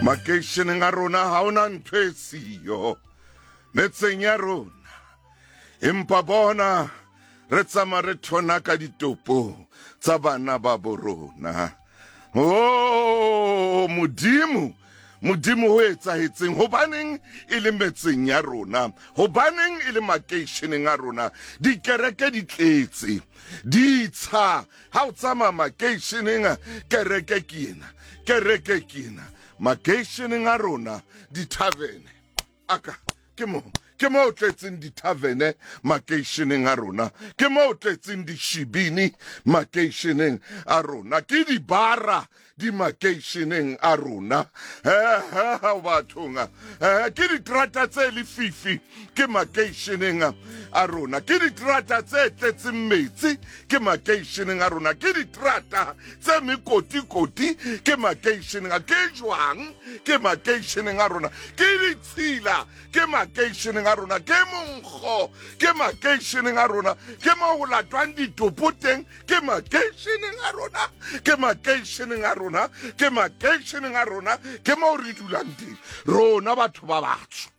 Makeisheneng a rona ha ona ntho e siyo metseng ya rona, empa bona re tsamaya re thonaka ditopo tsa bana ba bo rona. O Modimo, Modimo, ho etsahetseng? Hobaneng e le metseng ya rona? Hobaneng e le makeisheneng a rona? Dikereke di tletse, ditsha. Ha o tsamaya makeisheneng, kereke ke ena, kereke ke ena. Makeisheneng a rona, dithavene aka ke mo ke mo tletseng dithavene makeisheneng a rona, ke mo tletseng dishibini makeisheneng a rona, ke dibara di makeisheneng a rona. Bathong, ke diterata tse lefifi ke makeisheneng a rona, ke diterata tse tletseng metsi ke makeisheneng a rona, ke diterata tse mekotikoti ke makeisheneng a, ke jwang ke makeisheneng a rona, ke ditshila ke makeisheneng a rona, ke monkgo ke makeisheneng a rona, ke mo go latwang ditopo teng ke makeisheneng a rona, ke makeisheneng a rona, ke makeisheneng a rona, ke mo re dulang teng rona batho ba batsho.